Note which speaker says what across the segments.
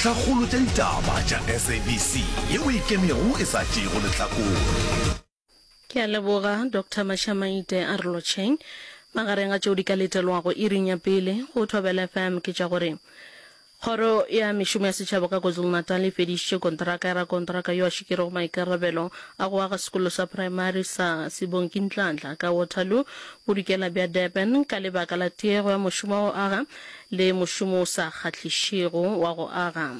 Speaker 1: Dintlhakgolo tša ditaba tša SABC yeo e ikemego e sa tšeego lehlakore.
Speaker 2: Ke a leboga, Doctor Mashamaite a re lotšheng. Magareng a tšeo di ka letelwago iring ya pele go Thobela FM ke tša gore Kgoro ya Mešomo ya Setšhaba ka KwaZulu-Natal e fedišitše kontraka ya rakontraka yo a šikerego maikarabelo a go aga sekolo sa praemari sa Sibongi Nhlanhla ka Waterloo, bodikela bja Durban ka lebaka la tiego ya mošomo wa go aga le mošomo o sa kgahlišego wa go aga.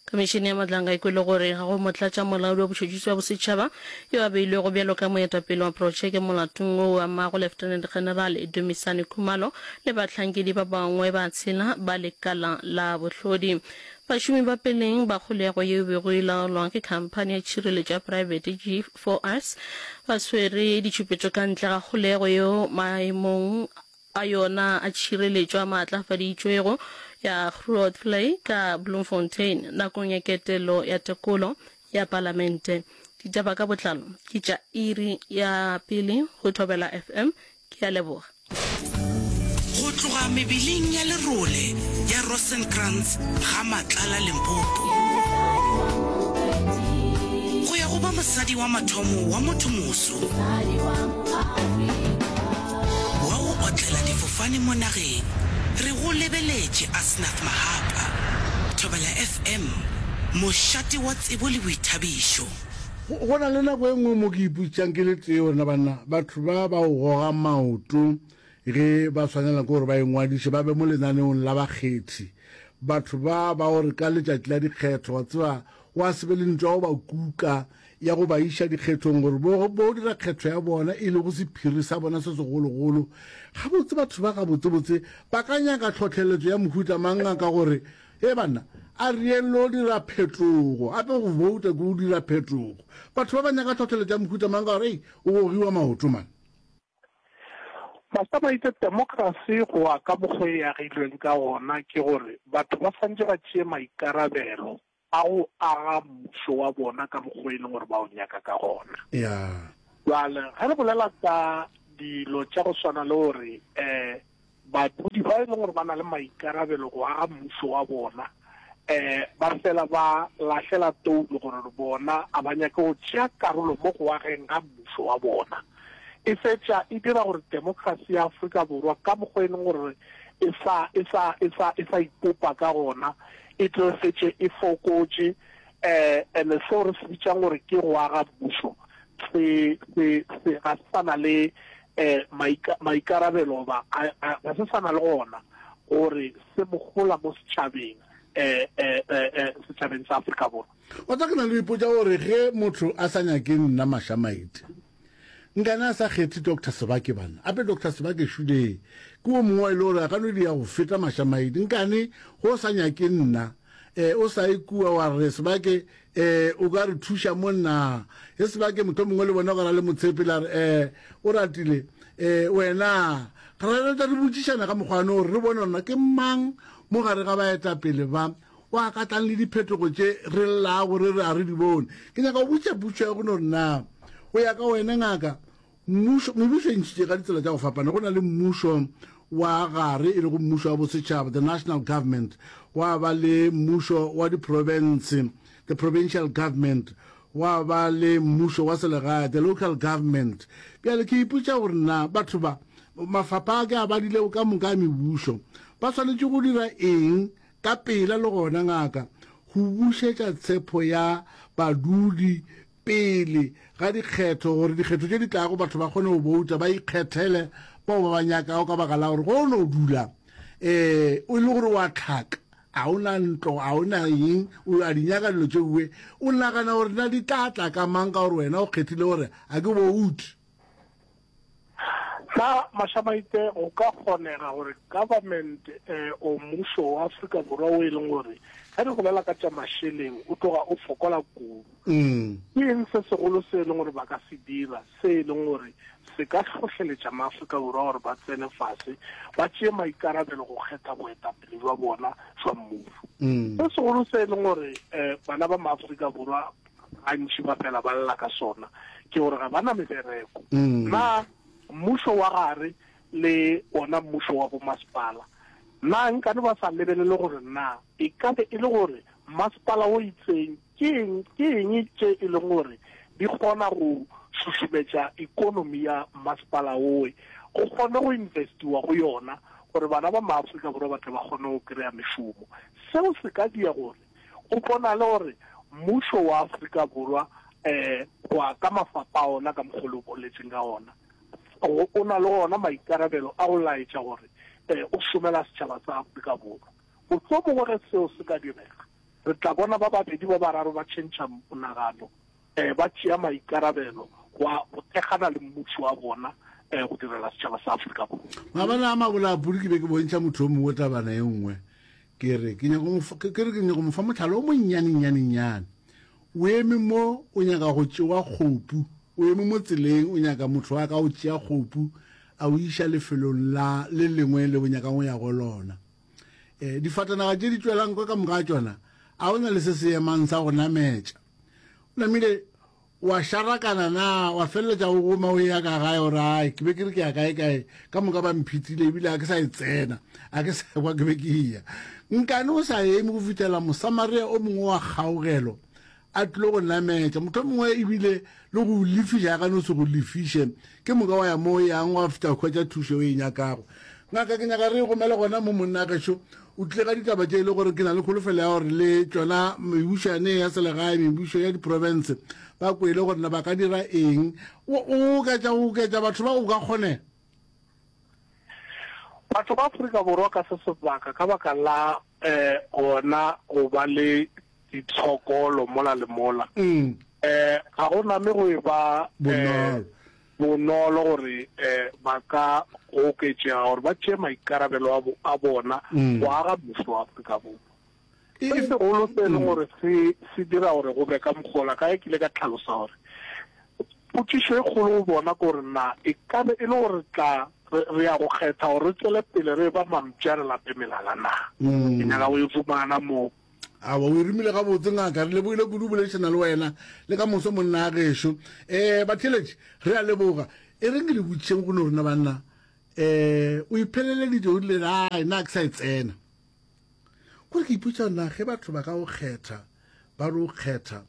Speaker 2: Khomišene ya Madlanga e kwele gore ga go motlatšamolaodi wa botšhotšhisi bja bosetšhaba yo a beilwego bjalo ka moetapele wa protšeke molatong wo o amago Lieutenant General Dumisani Khumalo le bahlankedi ba bangwe ba tshela ba lekala la bohlodi. Bašomi ba peleng ba kgolego yeo e bego e laolwa ke khamphani ya tšhireletšo ya praebete G4S ba swere ditšhupetšo ka ntle ga kgolego yeo maemong a yona a tšhireletšo a maatlafaditšwego ya Grootvlei ka Bloemfontein nakong ya ketelo ya tekolo ya Palamente. Ditaba ka botlalo ke tša iri ya pele go Thobela FM. Ke a leboga.
Speaker 3: Go tloga mebeleng ya lerole ya Rosenkrantz ga Matlala Limpopo go ya go ba mosadi wa mathomo wa mothomoso wa go otlela difofane mo nageng, re go lebeletše Asnath Mahapa, Thobela FM, mošate wa tsebo le boithabišo.
Speaker 4: Go na le nako e nngwe mo ke ipotšišang ke le tee gore na banna batho ba ba go goga maoto ge ba swanela ke gore ba ingwadiše ba be mo lenaneong la bakgethi, batho ba ba gore ka letšatši la dikgetho wa tseba wa se be le ntwa go ba kuka ya go ba iša dikgethong gore bo, bo dira kgetho ya bona e lego sephiri sa bona se segologolo. Gabotse batho ba gabotsebotse ba ka nyaka tlhohleletšo ya mohuta mang ngaka gore, He banna, a re yeng lo dira phetogo. Gape go bouta ke go dira phetogo. Batho ba ba nyaka tlhohleletšo ya mohuta mang ka gore, ei, o gogiwa maoto man.
Speaker 5: Pastor Maite, Democracy go ya ka mokgwa e agilweng ka gona ke gore batho ba swantše ba tšee maikarabelo a go aga mmušo wa bona ka mokgwa e leng gore ba o nyaka ka gona.
Speaker 4: Yeah.
Speaker 5: Bjale ge re bolela ka dilo tša go swana le gore um badudi ba e leng gore ba na le maikarabelo go aga mmušo wa bona um ba fela ba lahlela toulo gore bona a ba nyake go tšea karolo mo go ageng ga mmušo wa bona, e fetša e dira gore demokrasi ya Afrika Borwa ka mokgwa e leng gore e sa e sa e sa e sa ipopa ka gona e tlo fetše e fokotše um and seo re se bitšang gore ke go aga mmušo se se se ga se sa na le um maikarabelo goba ga se sa na le gona gore se mohola mo setšhabeng um um setšhabeng sa Afrika Borwa.
Speaker 4: Wa tseba ke na le go ipotša gore ge motho a sa nyake nna Mashamaite, nkane a sa kgethe Doctor Sebake bana. Ape Doctor Sebake šulee ke wo mongwe wa e le gore a ka no dia go feta Mashamaite. Nkane go sa nyake nna, eh, o sa ye kua wa re Sebake, eh, o ka re thuša mo na. He Sebake mohlomongwe le bona o ka ra le motshepe la re, eh, o ratile, eh, wena. Ra tla re botšišana ka mokgwa no gore re bone gore na ke mang mo gare ga baetapele ba O a ka tlang le diphetogo tše re llago re re a re di bone. Ke nyaka go botšiša potšišo ya go no re na go ya ka wena ngaka, mmušo, mebušo e ntšhitše ka ditsela tša go fapana. Go na le mmušo wa gare e lego mmušo wa bosetšhaba, the national government, gwa ba le mmušo wa diprofense, the provincial government, gwa ba le mmušo wa selegae, the local government. Bjale ke ipotša gore na batho ba, mafapha a ke a badilego ka moka a mebušo, ba swanetše go dira eng Ka pela le gona, ngaka, go bušetša tshepo ya badudi pele ga dikgetho, gore dikgetho tše di tlago batho ba kgone go bouta, ba ikgethele bao ba ba nyakago, ka baka la gore ge o no dula um o le gore wa tlhaka, ga o na ntlo, ga o na eng, o a di nyaka dilo tše uwe, o nagana gore na di tla tla ka mang ka gore wena o kgethile gore ga ke boute.
Speaker 5: Na Mashamaite go ka kgonega gore government eh, o mmušo wa Afrika Borwa o e leng gore ge re bolela ka tša mašeleng o tloga o fokola kudu
Speaker 4: mm.
Speaker 5: ke eng se segolo se e leng gore ba ka se dira se e leng gore se ka hlohleletša maAfrika Borwa gore ba tsene fase ba tšee maikarabelo go kgetha boetapele jwa bona jwa mmušo
Speaker 4: mm.
Speaker 5: se segolo se e leng gore um bana ba maAfrika Borwa gantši ba fela ba lla ka sona ke gore ga ba na mebereko.
Speaker 4: Mm.
Speaker 5: Na mmušo wa gare le ona mmušo wa bomasepala Na nkane ba sa lebelele gore na e ka be e le gore masepala o itseng ke eng, ke eng tše e leng gore di kgona go šušumetša ekonomi ya masepala owe, go kgone go investiwa go yona gore bana ba maAfrika Borwa ba tle ba kgone go kry-a mešomo. Seo se ka dia gore go bonale gore mmušo wa Afrika Borwa um go ya ka mafapa a ona ka mokgwa o le o boletseng ka ona, o na le ona maikarabelo a go laetša gore o šomela setšhaba sa Afrika Borwa. Mohlomongwe ge seo se ka direga, re tla bona ba babedi ba bararo ba tšhentšha monagano, ba tšea maikarabelo go go thekgana le mmušo wa bona go direla setšhaba sa Afrika Borwa.
Speaker 4: Maabane a mabolapudi ke be ke bontšha motho o mongwe tabana e nngwe, ke re ke nyaka go mo ke re ke nyaka go mo fa mohlala o monnyanenyane-nyane. O eme mo o nyaka go tšewa kgopu, o eme mo tseleng o nyaka motho a ka o tšea kgopu a o iša lefelong la le lengwe le o nyakang go ya go lona. E, difatanaga tše di tšwelang kwa ka moka ga tšona, a o na le se se emang sa go nametša. O namile wa šarakana na, wa feleletša o goma o eya ka gae gore ai ke be ke re ke ya kae kae, ka moka ba mphitile ebile a ke sa e tsena, a ke sa kwa ke be ke eya. Nkane o sa eme go fihlela Mosamaria o mongwe wa kgaogelo a tlilo go nametša, mohlomongwe ebile le go lefiša, a ka no se go lefiše, ke moka wa ya mo o yang wa fihla hwetša thušo o e nyakago. Ngaka, ke nyaka re e gomele gona mo monna gešo o tlile ka ditaba tše e le gore ke na le kholofelo ya gore le tšona mebušo yane ya selegae, mebušo ya diprofense ba kwele gore na ba ka dira eng. O oketša go oketša batho ba o ka kgonega.
Speaker 5: Batho ba Afrika Borwa ka se sebaka ka baka la um gona go ba le ditshokolo mola le mola um ga go name go e ba
Speaker 4: bonolo
Speaker 5: bonolo gore um ba ka oketšega gore ba tšee maikarabelo a bona go aga mmušo wa Afrika Borwa. Se segolo se e leng gore se se dira gore go be ka mokgola ka ge ke ile ka tlhalosa gore potšišo e kgolo go bona ke gore na e ka be e le gore tla re ya go kgetha gore re tšwele pele re ba mampša re lape melala na. Ke nyaka go e fumana mo.
Speaker 4: Aowa, o e romile gabotse ngaka. Re lebogile kudu go boledišana le wena le ka moso monna a gešo. Um batheeletši, re a leboga. E reng ke le botšišeng go no rena banna. Um o ipheleleditše o rile ai nna ke sa e tsena. Kore ke ipotša na ge batho ba ka o kgetha ba re o kgetha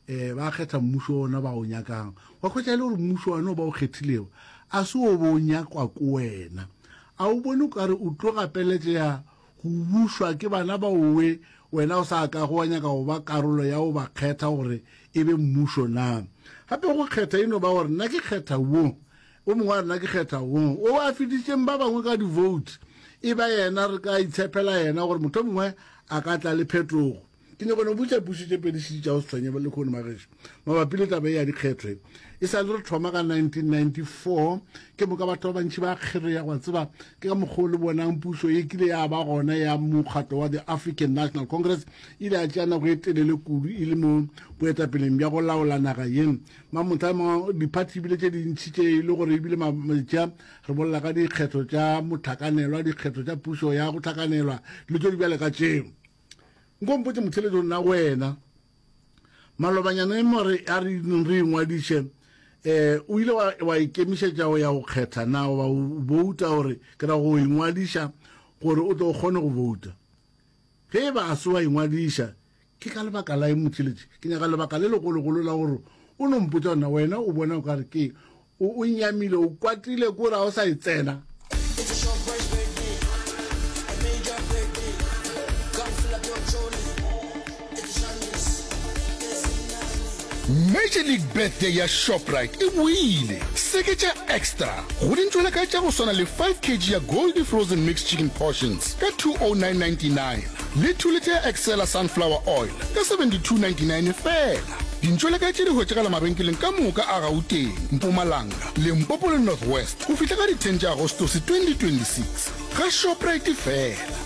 Speaker 4: um ba kgetha mmušo ona ba o nyakang wa hwetša e le gore mmušo one o ba o kgethilego a se o bo o nyakwa ko wena a o bone o kare o tlo gapeletšega go bušwa ke bana ba owe wena o sa kago wa nyaka go ba karolo ya go ba kgetha gore e be mmušo na? Gape go kgetha e no ba gore nna ke kgetha wo, o mongwe a re nna ke kgetha wo, o a fetišitšeng ba bangwe ka di-vote e ba yena, re ka itshepela yena gore mohlomongwe a ka tla le phetogo. Ke nyaka no botša pušo tše pedi šedi tša go se tshwenye lehono magešo mabapi le taba ye ya dikgetho e. E sa le re thoma ka 1994 ke moka batho ba bantši ba kgereya gwa tseba ke ka mokgwa o le bonang pušo e kile ya ba gona ya mokgatlo wa the African National Congress e ile ya tšea nako e telele kudu e le mo boetapeleng bja go laola naga ye. Mamotha ma diphathi ebile tše dintši tše e le gore ebile tša re bolela ka dikgetho tša mohlakanelwa, dikgetho tša pušo ya go hlakanelwa, dilo tše di bjale ka tšeo. Nko mpotše motheletšo nna wena malobanyana e more a re re ingwadiše eh o ile wa, wa ikemišetša go ya go kgetha na goba o bouta gore ke ra go ingwadiša gore o tlo kgone go bouta ge e ba a se wa ingwadiša ke ka lebaka la eng motheletši ke nyaka lebaka le legologolo la gore o no mpotša gona wena o bona o ka re ke O, o nyamile, o kwatile ko re ga o sa e tsena.
Speaker 1: Major League Birthday ya Shoprite e boile! Seketša extra go dintšwela ka tša go swana le 5 kg ya Goldie Frozen Mixed Chicken Portions ka 209.99 le 2 litre ya Excella Sunflower Oil ka 72.99 feela. Dintšwelekae tše di hwetšagala mabenkeleng ka moka a Gauteng, Mpumalanga, Limpopo le North West go fihla ka di 10 tša Agostose 2026. Ga Shoprite feela.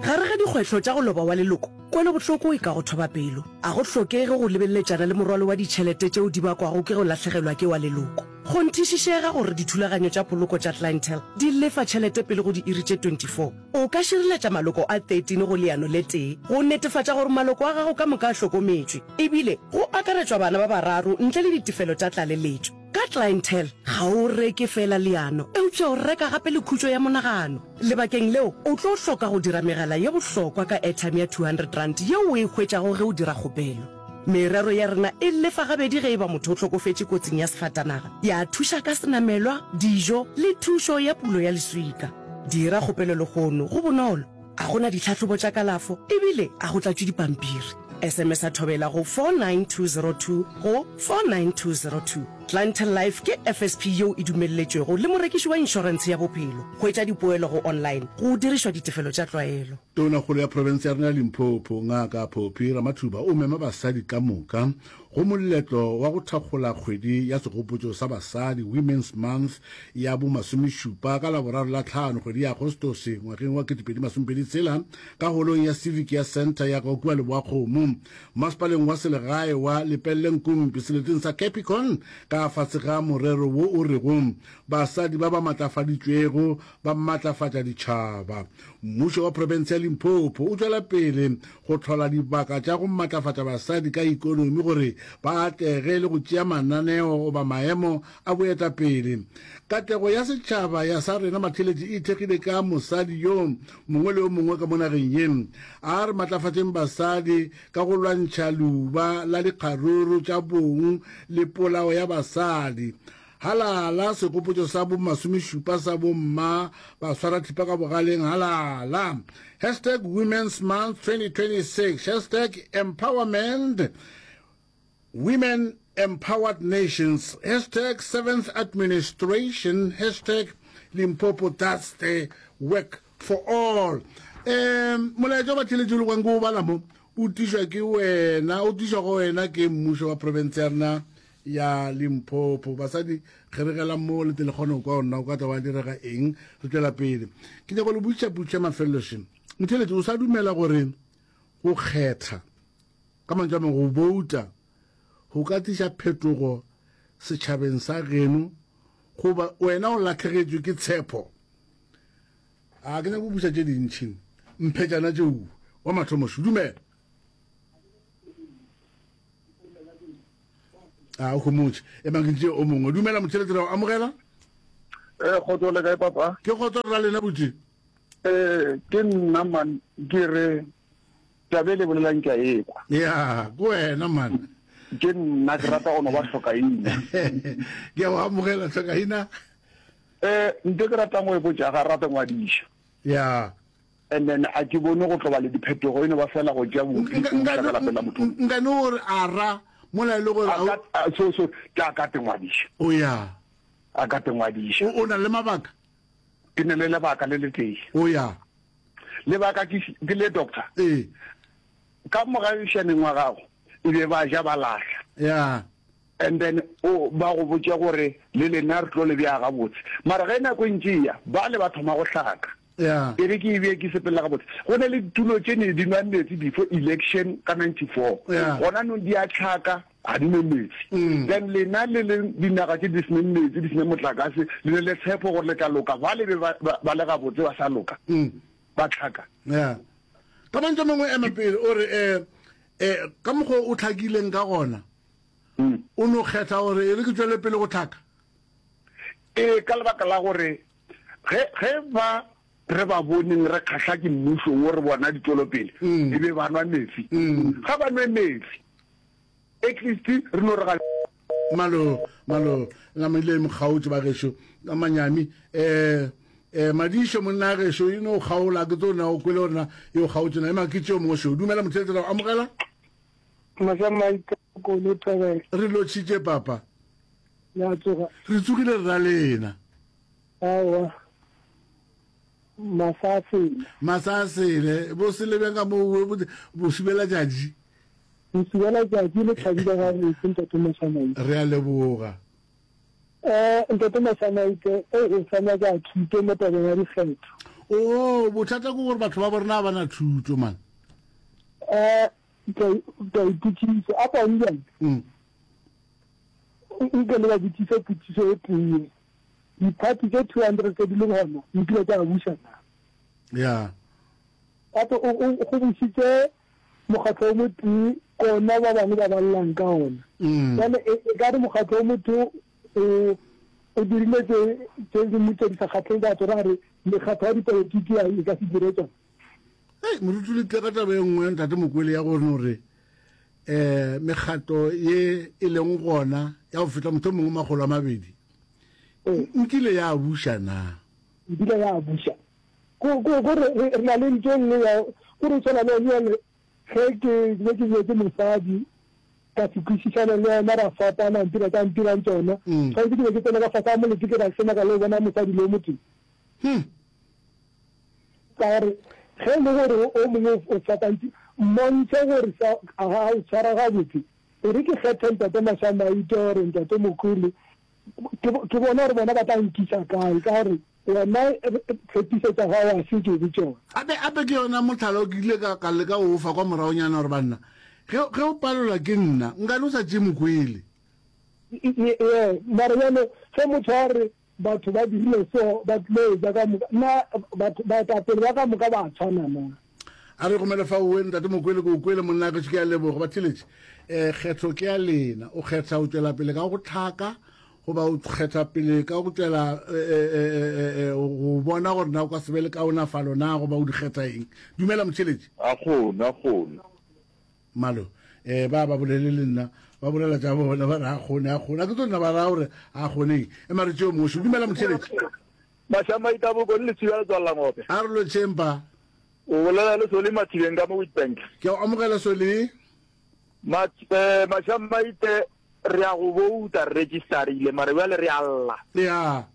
Speaker 3: Gare ga dikgwetlho tša go loba wa leloko, kwelobohloko e ka go thoba pelo. A go hlokege go lebeleletšana le morwalo wa ditšhelete tšeo di bakwago ke go lahlegelwa ke wa leloko. Kgonthišišega gore dithulaganyo tša poloko tša Clientele di lefa tšhelete pele go diiri tše 24. O ka šireletša maloko a 13 go leano le tee go netefatša gore maloko a gago ka moka a hlokometšwe, ebile go akaretšwa bana ba bararo ntle le ditefelo tša tlaleletšo. Ka. Ka Clientele ga o reke feela leano, eupša o reka gape le khutšo ya monagano. Lebakeng leo, o tlo hloka go dira megala ye bohlokwa ka airtime ya R200 yeo o e hwetšago ge o dira kgopelo. Merero ya rena e lefa gabedi ge e ba motho o hlokofetše kotsing ya sefatanaga, ya thuša ka senamelwa, dijo le thušo ya pulo ya leswika. Dira kgopelo lehono, go bonolo, ga go na ditlhahlobo tša kalafo ebile ga go tlatšwe dipampiri. SMS-a Thobela go 49202 go 49202. Clientele Life ke FSP yeo e dumelletšwego le morekiši wa inšorentshe ya bophelo. Hwetša dipoelo go online go dirišwa ditefelo tša tlwaelo.
Speaker 4: Tonakgolo ya profense ya rena ya Limpopo, Ngaka Phophi Ramathuba o mema basadi ka moka go moletlo wa go thakgola kgwedi ya segopotšo sa basadi, Women's Month, ya bo masomešupa ka Laboraro la tlhano kgwedi ya Agostose ngwageng wa 2026 ka holong ya Civic ya Centre ya kua Leboakgomo, masepaleng wa selegae wa Lepelle-Nkumpi seleteng sa Capricorn ka fase ga morero wo o rego Basadi ba ba matlafaditšwego ba matlafatša ditšhaba. Mmušo wa profense ya Limpopo o tšwela pele go hlola dibaka tša go matlafatša basadi ka ikonomi gore ba atlege le go tšea mananeo goba maemo a boetapele. Katlego ya setšhaba ya sa rena Matheletši e ithekgile ka mosadi yo mongwe le yo mongwe ka mo nageng ye. A re matlafatšeng basadi ka go lwantšha leuba la dikgaruru tša bong le polao ya basadi. Halala, segopotšo sa bo masomešupa sa bo mma ba swara thipa ka bogaleng, halala. Hashtag Women's Month 2026, hashtag Empowerment, Women Empowered Nations, hashtag Seventh Administration, hashtag Limpopo does the work for all. Um, molaetša wa batheeletši o le kwang ke o bala mo, o tišwa ke wena, o tišwa go wena ke mmušo wa profense ya rena ya Limpopo. Basadi, kgeregelang mo le tle le kgone go kwa gore na o ka tla wa direga eng. Re tšwela pele. Ke nyaka go le botšiša potšišo ya mafelelo še. Motheeletši, o sa dumela gore go kgetha, ka mantšu a mangwe go bouta, go ka tliša phetogo setšhabeng sa geno goba wena o lahlegetšwe ke tshepo? A ke nyaka go buša tše dintši. Mphetšana tšeo. Wa mathomo šo. Dumela. A o homotše. Emang ke tšee o mongwe. Dumela motheletši, ra o amogela.
Speaker 6: Eh, kgotso le kae papa?
Speaker 4: Ke kgotso ra lena butše.
Speaker 6: Eh, ke nna man, ke re taba e le bolelang ke a e kwa.
Speaker 4: Ya, ke wena man.
Speaker 6: Ke nna ke rata go no ba hlokaina.
Speaker 4: Ke a o amogela hlokaina.
Speaker 6: Eh, nto ke ratang go e botša ga rate ngwadiša.
Speaker 4: Ya.
Speaker 6: And then a ke bone go tlo ba le diphetogo, e no ba fela go tšea bupi o iša ka lapeng la motho.
Speaker 4: Nka no gore a ra mola e le gore
Speaker 6: a ka so so ke a ka te ngwadiša.
Speaker 4: O ya.
Speaker 6: A ka te ngwadiša.
Speaker 4: O na le mabaka?
Speaker 6: Ke ne le lebaka le letee.
Speaker 4: O ya.
Speaker 6: Lebaka ke ke le doctor.
Speaker 4: Ee.
Speaker 6: Ka mogagišaneng wa gago e be ba ja ba lahla.
Speaker 4: Ya.
Speaker 6: And then o ba go botše gore le lena re tlo le bea gabotse. Mara ge nako e ntše e ya, bale ba thoma go hlaka.
Speaker 4: Yeah.
Speaker 6: E re ke e bee ke sepelela gabotse. Go na le ditulo tše ne di nwa meetse before election ka 94.
Speaker 4: Yeah.
Speaker 6: Gona nong di a tlhaka, ga di nwe meetse.
Speaker 4: Mm.
Speaker 6: Then lena le le dinaga tše di seneng meetse, di seneng motlakase, le ne le tshepo gore le tla loka. Bale be ba, ba, ba le gabotse ba sa loka.
Speaker 4: Mm.
Speaker 6: Ba tlhaka.
Speaker 4: Yeah. Ka mantšu a mangwe ema pele o re eh eh ka mokgwa o tlhakileng ka gona.
Speaker 6: Mm.
Speaker 4: O no kgetha gore e re ke tšwele pele go tlhaka.
Speaker 6: Ee, ka lebaka la gore Ge, ge ba re ba boneng re kgahla ke mmušo wo re bona ditšwelopele, e be ba nwa metsi. Ga ba nwe metsi. At least re no re ga.
Speaker 4: Malo, malo, nama ile e mo kgaotše ba gešo, ka manyami. Eh, eh, Madišo monna gešo, e no kgaola, ke tlo na o kwele gore na e o kgaotše na. Ema ke tšeo mongwe šo. Dumela motheletši, ra o amogela.
Speaker 7: Masamaita Kolo Thobela.
Speaker 4: Re lotšhitše papa.
Speaker 7: Le a tsoga?
Speaker 4: Re tsogile rra lena.
Speaker 7: Aowa. Masa a sele.
Speaker 4: Masa a sele. Bo sele bjang ka moo bo, bo subela tšatši?
Speaker 7: Bo subela tšatši le thabile gabotse Ntate Masamaite.
Speaker 4: Re a leboga.
Speaker 7: Eh, Ntate Masamaite, ei o sa nyaka thuto mo tabeng ya dikgetho.
Speaker 4: Oo, bothata ke gore batho ba bo rena ga ba na thuto man.
Speaker 7: Eh, ke a ipotšiša, a pa bjang?
Speaker 4: Mm.
Speaker 7: Nke le ba botšiše potšišo e tee. Diphathi tše 200 tše di leng gona di kile tša buša na?
Speaker 4: Ya.
Speaker 7: Gape o, o, go bušitše mokgatlo o motee kona ba bangwe ba ballang ka ona.
Speaker 4: Mm.
Speaker 7: Bjale e, e ka re mokgatlo o motho. o o dirile tše tše dingwe tše di sa kgahleng batho, ra re mekgatlo ya dipolotiki a e ka se dire tšona.
Speaker 4: Hei, moruti le tle ka taba e nngwe ntate Mokwele ya gore no re eh mekgatlo ye e leng gona ya go feta motho mongwe 200 nkile ya buša na?
Speaker 7: Nkile ya buša. Ko ko ko re re na le ntho e nngwe ya ko re tshwana le yone ge ke be ke nyetse mosadi ka se kwešišane le yena ra fapana ntira tša ntirang tšona mm. tshwanetse ke be ke tsene ka fase ga molete ke ra semaka le go bona mosadi le o motee hmm. Ka gore ge e le gore o mongwe o fapantše, mmontšhe gore sa ga o tshwara gabotse. E re ke kgethe Ntate Mashamaite or Ntate Mokwele, ke, ke bone gore bona ba tla nkisa kae, ka gore wena tshepišo tša gago ga se tšobe tšona.
Speaker 4: Gape, gape ke yona mohlala o ke ile ka, ka leka go o fa kwa moragonyana gore banna, ge, ge o palelwa ke nna, nkane o sa tšee Mokwele.
Speaker 7: Ee, mara bjalo ge motho a re Batho ba dirile so, ba tlilo ja ka moka. Na batho, baetapele ba ka moka ba a tshwana na?
Speaker 4: A re gomele fa owe, Ntate Mokwele, ke o kwele monna gešo, ke a leboga. Batheeletši, eh, kgetho ke ya lena. O kgetha go tšwela pele ka go hlaka goba o kgetha pele ka go tšwela eh, eh, eh, eh, go bona gore na o ka se be le kaonafalo na goba o di kgetha eng. Dumela motheeletši.
Speaker 6: A kgone, a kgone.
Speaker 4: Malo, eh, ba ba bolele le nna, ba bolela tša bona, ba re a kgone, a kgone. A ke tlo nna ba raya gore a kgoneng. Ema re tšeo mošo. Dumela motheeletši.
Speaker 8: Mašamaita bokone le tswia letswalla ngope.
Speaker 4: A re lotšheng pa.
Speaker 8: O bolela le Soli Mathibeng ka mo Witbank.
Speaker 4: Ke a o amogela Soli.
Speaker 8: Mat, eh, Mašamaite re a go bouta re registerile mare bjale re a lla.
Speaker 4: Ya.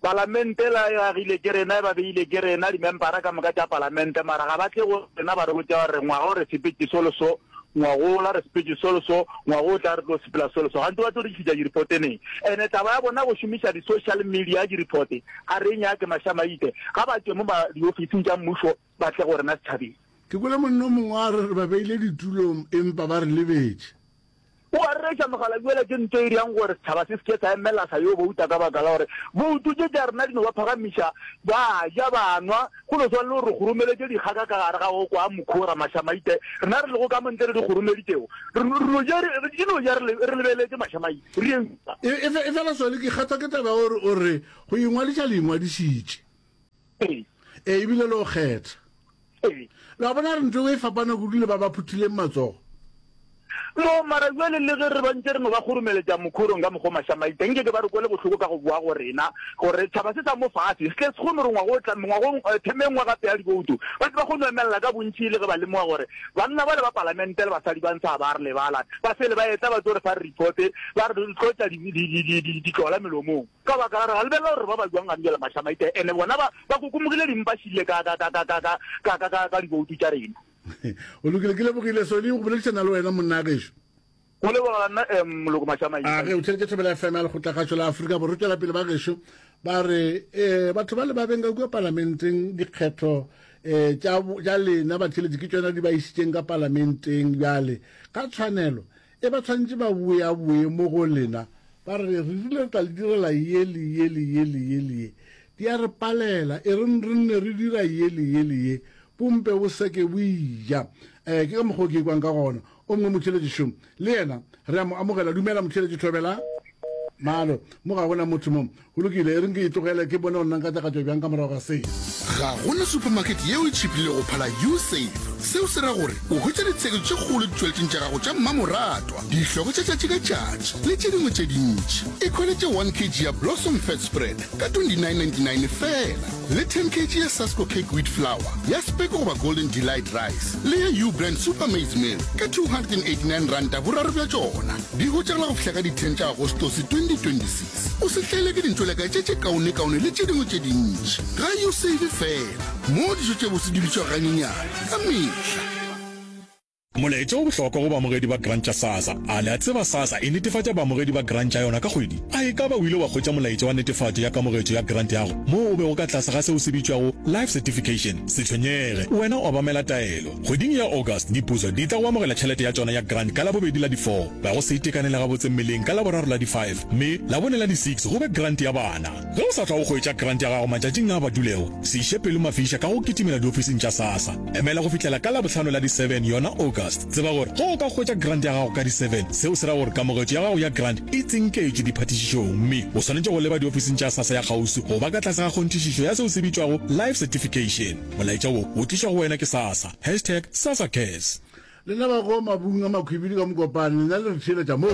Speaker 8: Palamente la e agile ke rena, e ba beile ke rena, dimempara ka moka tša palamente, mara ga ba tle go rena ba re botša gore ngwaga o re sepetše so le so, ngwagola re sepetše so le so, ngwago o tla re tlo sepela so le so. Gantši ba tlo re tlišetša di-report neng? Ene taba ya bona go šomiša di-social media di-report ga re e nyake, Mašamaite. Ga ba tšwe mo diofising tša mmušo ba tle go rena setšhabeng.
Speaker 4: Ke kwele monna o mongwe a re re ba beile ditulong empa ba re lebetše.
Speaker 8: O a rereša mogala bjale ke ntho e dirang gore setšhaba se se ke sa emela sa yo bouta ka baka la gore boutu tše tša rena di no ba phagamiša, ba ja, ba nwa, go no swana le gore re kgoromeletše dikgaka ka gare ga go kwa mokhora, mašamaite, rena re lego ka mo ntle re di kgoromeditšego, re no ja, di no ja re lebeletše mašamaite, re
Speaker 4: eupša. E, efela Solly, ke kgathwa ke taba ya gore o re go ingwadiša le ingwadišitše.
Speaker 8: Ee.
Speaker 4: Ee, ebile le go kgetha.
Speaker 8: Ee.
Speaker 4: Le a bona re ntho e fapana kudu le ba ba phuthileng matsogo.
Speaker 8: No, mara bjale le ge re ba ntše re no ba kgoromeletša mokhorong ka mokgwa o mašamaita, nke ke ba re kwele bohloko ka go boa go rena, gore tšhaba se sa mo fase se tle se kgone gore ngwaga o tla, mengwagong, theme e nngwe gape ya dibouto, ba tle ba kgone go emelela ka bontši e le ge ba lemoga gore banna bale ba palamente le basadi ba ntsha ba re lebala, ba fele ba etla ba tlo re fa report, ba re tlotša di, di, di, di, di, ditlola melomong. Ka baka la gore ga lebelela gore ba ba jwang gane bjale mašamaite, ene bona ba, ba kokomogile dimpa šile ka, ka, ka, ka, ka, ka, ka, ka, ka, ka diboutu tša rena.
Speaker 4: Go lokile, ke lebogile Solly go boledišana le wena monna gešo.
Speaker 8: Go leboga nna um moloko mašamaite.
Speaker 4: A ge o theletše Thobela FM ya Lekgotlakgašo la Afrika Borwa, tšwela pele ba gešo ba re um batho ba le ba beng ka kua palamenteng dikgetho um tša tša lena batheletši ke tšona di ba išitšeng ka palamenteng bjale ka tshwanelo E ba tshwanetše ba boeaboe mo go lena, ba re, Re rile re tla le direla ye le ye le ye le ye le ye. Di a re palela. E reng re nne re dira ye le ye le ye. Bompe bo seke bo eja. Eh, ke ka mokgwa o ke ikwang ka gona. O mongwe motheeletši šo, le yena re a mo amogela. Dumela motheeletši Thobela. Malo, mo ga go na motho mo. Go lokile, e reng ke e tlogele ke bone gore nna nka tla ka tšwa bjang ka morago ga se.
Speaker 1: Ga go na supermarket yeo e tšhipilego go phala U-Save. Seo se ra gore o hwetša ditsheketšo tše kgolo ditšweletšong tša gago tša mmamoratwa, dihloko tša tšatši ka tšatši le tše dingwe tše dintši. Ikhweletše 1 kg ya Blossom Fat Spread ka 29.99 feela le 10 kg ya Sasko Cake Wheat Flour ya Speke goba Golden Delight Rice le ya U-Brand Super Maize Meal ka 289 ranta boraro bja tšona. Di hwetšagala go fihla ka di 10 tša Agostose 2026. O se hlaelwe ke dintšoleka tše tše kaonekaone le tše dingwe tše dintši. Ga U save fela, moo dijo tše bose di bitšwago ganyenyane ka mehla.
Speaker 9: Molaetša o bohlokwa go baamogedi ba grant tša SASSA. A le a tseba SASSA e netefatša baamogedi ba grant tša yona ka kgwedi? A e ka ba o ile wa hwetša molaetša wa netefatšo ya kamogetšo ya grant yago moo o bego ka tlase ga seo se bitšwago Life Certification? Se tshwenyege, wena obamela taelo. Kgweding ya August, diputso di tla go amogela tšhelete ya tšona ya grant ka Labobedi la di 4, ba go se itekanele gabotse mmeleng ka Laboraro la di 5, mme Labone la di 6 go be grant ya bana. Ge o sa tla o hwetša grant ya gago matšatšing a badulego, se iše pelo mafiša ka go kitimela diofising tša SASSA. Emela go fihlela ka Labohlano la di 7 yona August. August. Tseba gore ge o ka hwetša grant ya gago ka di 7, seo se ra gore kamogetšo ya gago ya grant e tsinketšwe diphatišišong mme o swanetše go leba diofising tša SASSA ya kgauswi go ba ka tlase ga kgonthišišo ya seo se bitšwago life certification. Molaetša wo o tlišwa go wena ke SASSA. Hashtag SASSACares.
Speaker 4: Lena ba go mabung a makhwibidi ka Mokopane, lena le re theeletša mo.